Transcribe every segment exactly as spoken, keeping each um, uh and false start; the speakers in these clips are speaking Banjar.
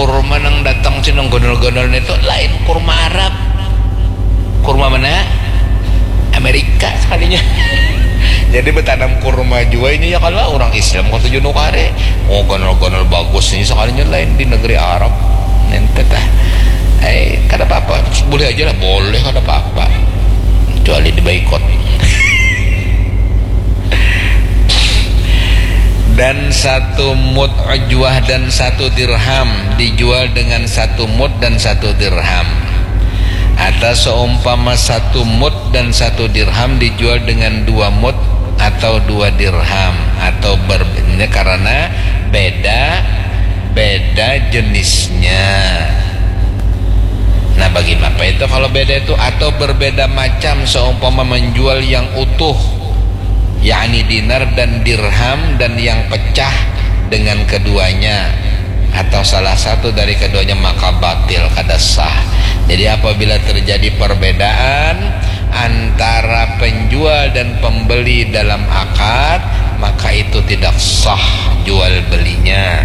Kurma nang datang cina gondol-gondol itu lain kurma Arab. Kurma mana? Amerika sekalinya. Jadi bertanam kurma juga ini ya kalau orang Islam kau tujuh nukare. Oh, gondol-gondol bagus ini sekalinya lain di negeri Arab. Nanti tah. Eh, kada apa-apa. Boleh aja lah, boleh, kada apa-apa. Kecuali dibaikot. Dan satu mud ujwah dan satu dirham dijual dengan satu mud dan satu dirham. Atau seumpama satu mud dan satu dirham dijual dengan dua mud atau dua dirham atau ber, ini karena beda, beda jenisnya. Nah, bagaimana itu kalau beda itu? Atau berbeda macam, seumpama menjual yang utuh, yakni dinar dan dirham, dan yang pecah dengan keduanya, atau salah satu dari keduanya, maka batil, kada sah. Jadi apabila terjadi perbedaan antara penjual dan pembeli dalam akad, maka itu tidak sah jual belinya.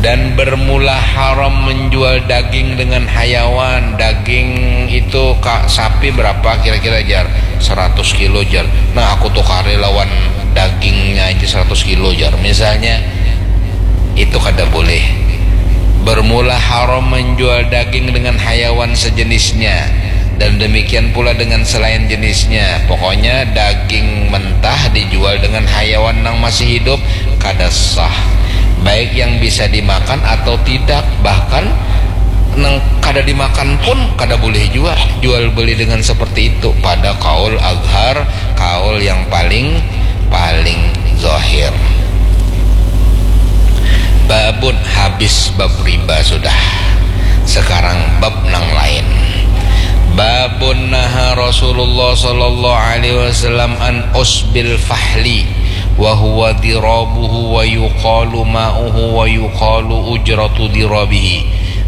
Dan bermula haram menjual daging dengan hayawan. Daging itu kak sapi berapa kira-kira, jar? Seratus kilo, jar. Nah, aku tukari lawan dagingnya aja seratus kilo, jar. Misalnya, itu kada boleh. Bermula haram menjual daging dengan hayawan sejenisnya, dan demikian pula dengan selain jenisnya. Pokoknya daging mentah dijual dengan hayawan nang masih hidup, kada sah. Baik yang bisa dimakan atau tidak, bahkan nang kada dimakan pun kada boleh jua jual beli dengan seperti itu pada kaul azhar, kaul yang paling, paling zahir. Babun, habis bab riba sudah. Sekarang bab nang lain. Babun naha Rasulullah sallallahu alaihi wasallam an usbil fahli wa huwa dirabuhu wa yuqalu ma'uhu wa yuqalu ujratu dirabihi,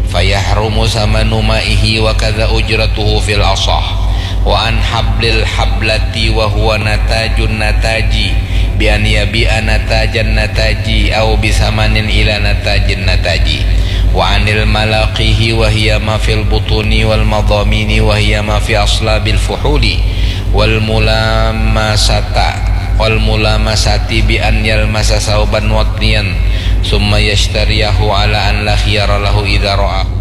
fayahrumu samanu ma'ihi wa kadza ujratuhu fil asah. Wa an hablil hablati wa huwa natajun nataji, bi an yabi'a natajan nataji au bi samanin ila natajin nataji. Wa anil malaqihi wa hiya ma fil butuni wal madamini wa hiya ma fi aslabil fuhuli wal mulamasata, wal mulamasati bi an yalmasa sauban watniyan summa yashtariyahu ala an la khiyara lahu idza ra'ahu.